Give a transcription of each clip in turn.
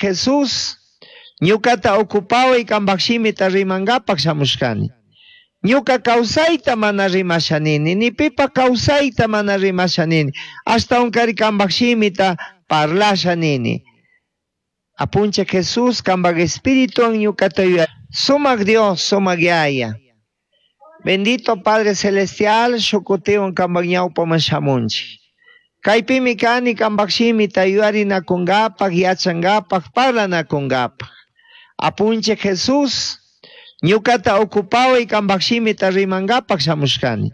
Jesús, ñucata ocupaway cambaj shimita rimangapaj shamushcani. Ñuca kawsayta mana rimasha nini, ni pipa kawsayta mana rimasha nini, ashtahuancari cambaj shimita parlasha nini. Apunchij Jesús, cambaj espirituwan ñucata yuya. Sumac Dios, sumac Yaya. Bendito Padre Celestial, shukutiwan cambaj ñawpaman shamunchik. Kaypimi kani cambaj shimita yuyarinakungapaj, yachangapaj, parlanakungapaj. Apunchij Jesús, ñucata ocupaway cambaj shimita rimangapaj shamushcani.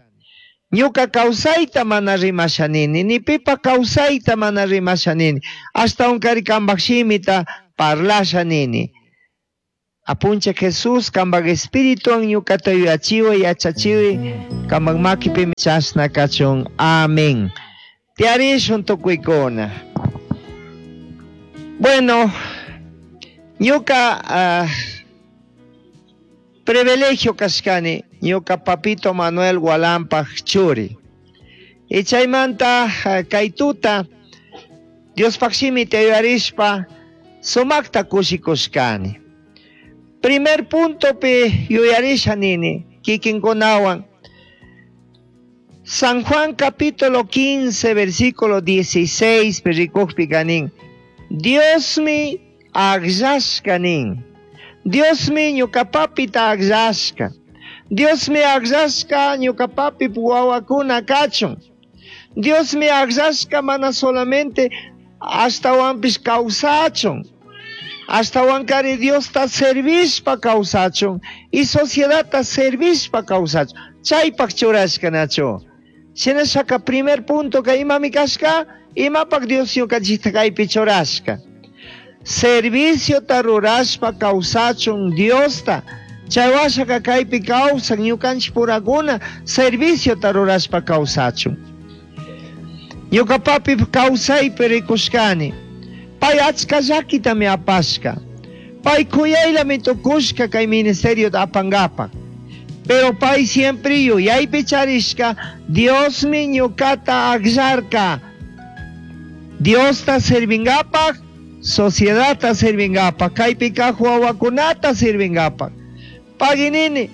Ñuca kawsayta mana rimasha nini, ni pipa kawsayta mana rimasha nini, ashtahuancari cambaj shimita parlasha nini. Apunchij Jesús, cambaj espirituwan ñucata yuyachiway, yachachiway, cambaj makipimi chashna kachun. Amén. Tiyarishun tukuykuna. Bueno, ñuca privilegio kashkani, ñuca papito Manuel Gualampaj churi. Y chaymanta kay tuta Diospaj shimita yuyarishpa sumakta kushikushkani. Primer puntopi yuyarisha nini kikinkunawan. San Juan capítulo 15 versículo 16 pi rikujpika nin, Diosmi agllashka nin. Diosmi ñuka papita agllashka. Diosmi agllashka ñuka papi wawakuna kachun. Diosmi agllashka mana solamente ashtawanpish kawsachun. Ashtawankari Diosta servishpa kawsachun y sociedadta servishpa kawsachun. Chaypaj churashka nachu. Shinashaka primer punto ka imami kashka, imapak Dios ñukanchikta kaypi churashka. Serviciota rurashpa kawsachun Diosta. Chay washaka kaypi kawsan ñukanchik purakuna serviciota rurashpa kawsachun. Ñuka papi kawsaypi rikushkani. Pay achka llakitami apashka. Pay kuyaylami tukushka kay ministeriota apangapak. Pero pay siempre yuyaypi charishka Diosmi ñukata akllarka. Diosta servingapak, sociedadta servingapak, kaypi kaq wawakunata servingapak. Paginini,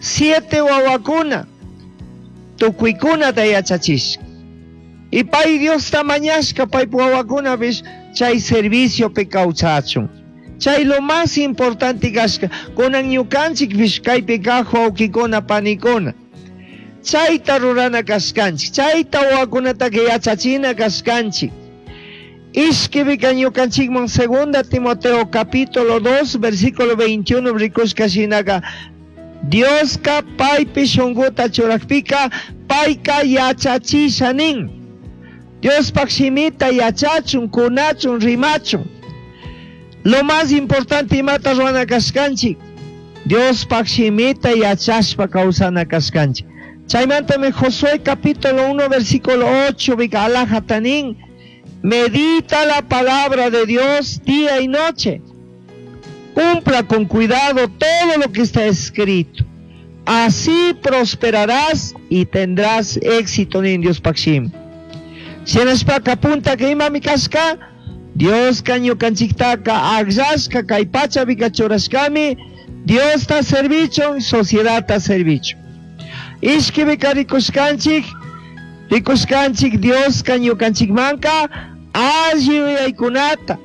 7 wawakuna, tukuykunata yachachishka. Y pay Diosta mañashka, pay wawakunapish chay serviciopi kawsachun. Chay lo más importante kashka, kunan ñukanchikpish kaypi kaq wawkikuna panikuna. Chayta rurana kashkanchik, chayta wawakunataka yachachina kashkanchik. Ishkipika ñukanchikman segunda Timoteo capítulo 2 versículo 21 rikushka shinaka Dioska paypi shunkuta churakpika payka yachachisha nin. Diospaj shimita yachachun, kunachun, rimachun. Lo más importante imata ruwana kashkanchik, Diospaj shimita yachashpa kawsana kashkanchik. Chaymantami Josué capítulo 1 versículo 8 bika alajata nin, medita la palabra de Dios día y noche. Cumpla con cuidado todo lo que está escrito. Así prosperarás y tendrás éxito en Dios Paxim. Shinashpaka punta que imami kashka, Dios ñukanchiktaka akllashka kay pachapika churashkami, Diosta servichun, sociedadta servichun. Ishkipika rikushkanchik, rikushkanchik Dioska ñukanchikmanka alli yuyaykunata,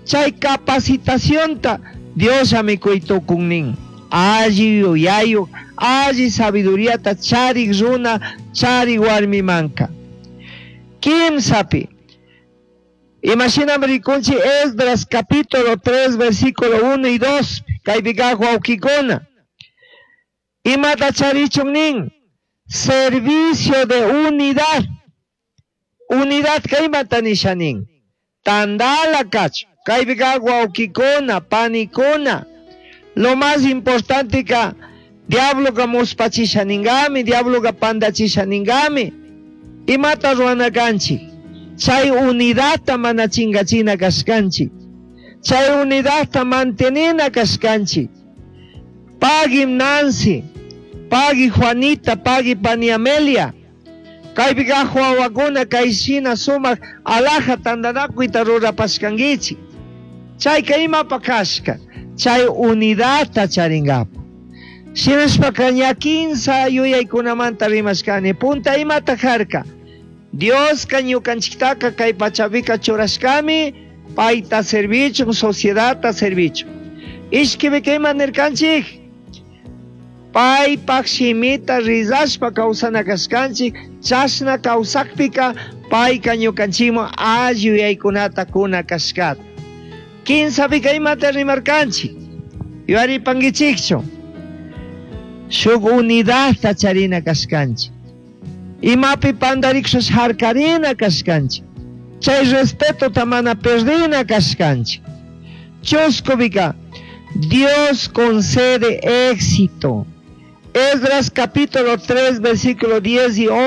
chay capacitacionta Diosllami kuytukun nin. Alli yuyayuk, alli sabiduriata charik runa, charik warmimanka. Kimsapi, imashinami rikunchik Esdras capítulo 3 versículo 1 y 2, kaypika wawkikuna. Imata charichun nin, servicio de unidad. Unidad kaymanta nisha nin. Tandala kachu, kaypika wawkikuna, panikuna. Lo más importante ka diabloka muspachisha ningami, diabloka pandachisha ningami. Imata ruwana kanchik, chay unidadta mana chingachina kashkanchik, chay unidadta mantenina kashkanchik. Pagui Nancy, pagui Juanita, pagui pani Amelia. Kaypika wawakuna kay shina sumak alhaja tantanakuyta rurapashkankichik. Chayka imapa kashka, chay unidadta charingapa. Shinashpaka ña kinsa yuyaykunamanta rimashkani. Punta imata karka? Dioska ñukanchiktaka kay pachapika churashkami payta servichun, sociedadta servichun. Ishkipika ima nirkanchik? Paypak shimita rizashpa kawsana kashkanchik, chashna kawsakpika payka ñukanchikman alli yuyaykunata kuna kashkata. Kinsapika imata rimarkanchik? Yuyaripankichikchu? Shuk unidadta charina kashkanchik. Imapi pandarikushpa harkarina kashkanchik. Chay respetota mana perdina kashkanchik. Chuskupika, Dios concede éxito. Esdras capítulo 3, versículo 10 y 11.